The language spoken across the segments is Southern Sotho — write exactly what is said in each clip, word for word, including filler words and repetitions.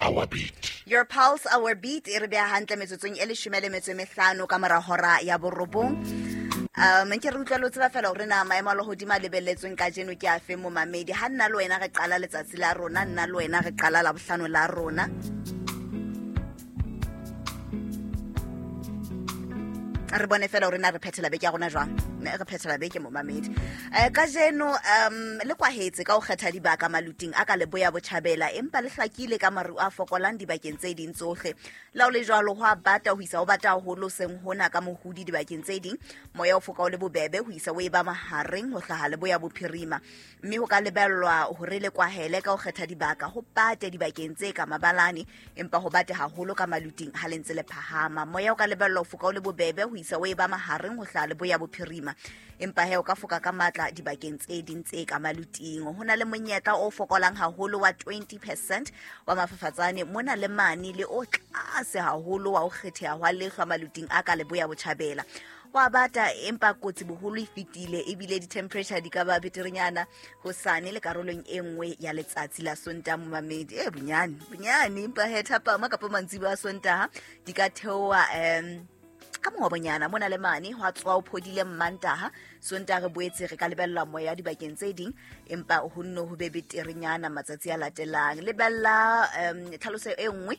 our beat. Your pulse, our beat. E re beha hantle metsotsong e leshome le metso e mehlano ka mora hora ya borobong. Um nke re utlwa lo tseba fela hore na maemo a lehodimo a lebelletsweng kajeno ke afe momamedi. Ha nna le wena re qala letsatsi la rona, nna le wena re qala la bohlano la rona. Re bone fela hore na re phethela beke ya rona jwang. Re phethela beke momamedi. Eh kajeno um le kwahetse ka ho kgetha dibaka maluting a ka leboya botjhabela, empa le hlakile ka maru a fokolang dibakeng tse ding tsohle. La ho le jwalo ho a bata ho isa ho bata haholo seng hona ka mohudi dibakeng tse ding. Moya o foka o le bobebe ho isa o e ba mahareng ho hlaha leboya bophirima. Mme ho ka lebellwa hore le kwahele ka ho kgetha dibaka ho bate dibakeng tse ka mabalane, empa ho bate haholo ka maluting ha le ntse le phahama. Moya o ka lebellwa ho foka o le bobebe ho isa o e ba mahareng ho hlaha leboya bophirima, empa he o ka foka ka matla dibakeng tse ding tse ka maluting. Ho na le monyetla o fokolang haholo wa twenty percent wa mafafatsane mona le mane, le o tlase haholo wa ho kgetheha hwa lehlwa maluting a ka leboya botjhabela. Wa bata empa kotsi boholo e fetile, ebile di-temperature di ka ba beterenyana hosane le karolong e nngwe ya letsatsi la Sontaha momamedi. E bonyane bonyane, empa he thapama kapa mantsiboya a Sontaha di ka theoha um ka mongobonyana mona le mane ho tswa o phodile Mmantaha. Sontaha re boetse re ka lebella moya dibakeng tse ding, empa ho nno ho be beterenyana matsatsi a latelang. Lebella um tlhaloso e nngwe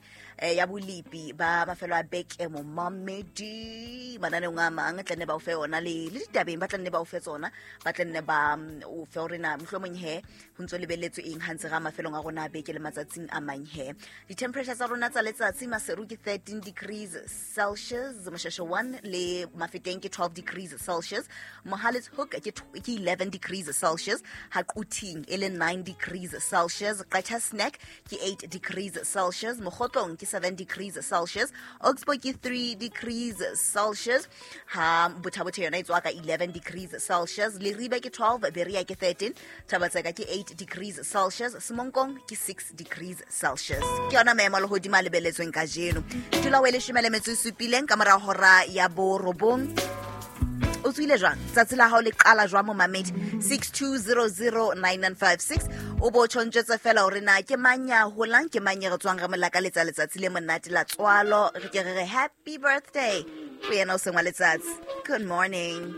ya bolipi ba mafelo a beke momamedi mananeong a mang tla nne ba o fe ona le le ditabeng ba tla nne ba o fe tsona, ba tla nne ba o fe hore na mohlomong he ho ntso lebelletswe eng ha ntse ra mafelong a rona a beke le matsatsing a mang he. Di-temperature tsa rona tsa letsatsi Maseru ke thirteen degrees Celsius, Moshasha one le Mafeteng ke twelve degrees Celsius, Mohale's Hoek ke eleven degrees Celsius, Haquting e le nine degrees Celsius, Qacha Snack ke eight degrees Celsius, Mokgotlong ke seven degrees Celsius, Oxbow ke three degrees Celsius, ha Botha-Bothe yona e tswa ka eleven degrees Celsius, Leribe ke twelve, Berea ke thirteen, Thabatseka ke eight degrees Celsius, Semonkong ke six degrees Celsius. Ke yona maemo a lehodimo a lebelletsweng kajeno. Dula o e leshome le metso e supileng ka mora hora ya borobong. O tswile jwang? Tsatsi la hao le qala jwang momamedi? six two zero zero nine nine five six. O bo tjhontjetse fela hore na ke mang ya holang, ke mang ya re tswang re mo lakaletsa letsatsi le monate la tswalo. Re ke re re happy birthday ho yena o seng wa letsatsi. Good morning.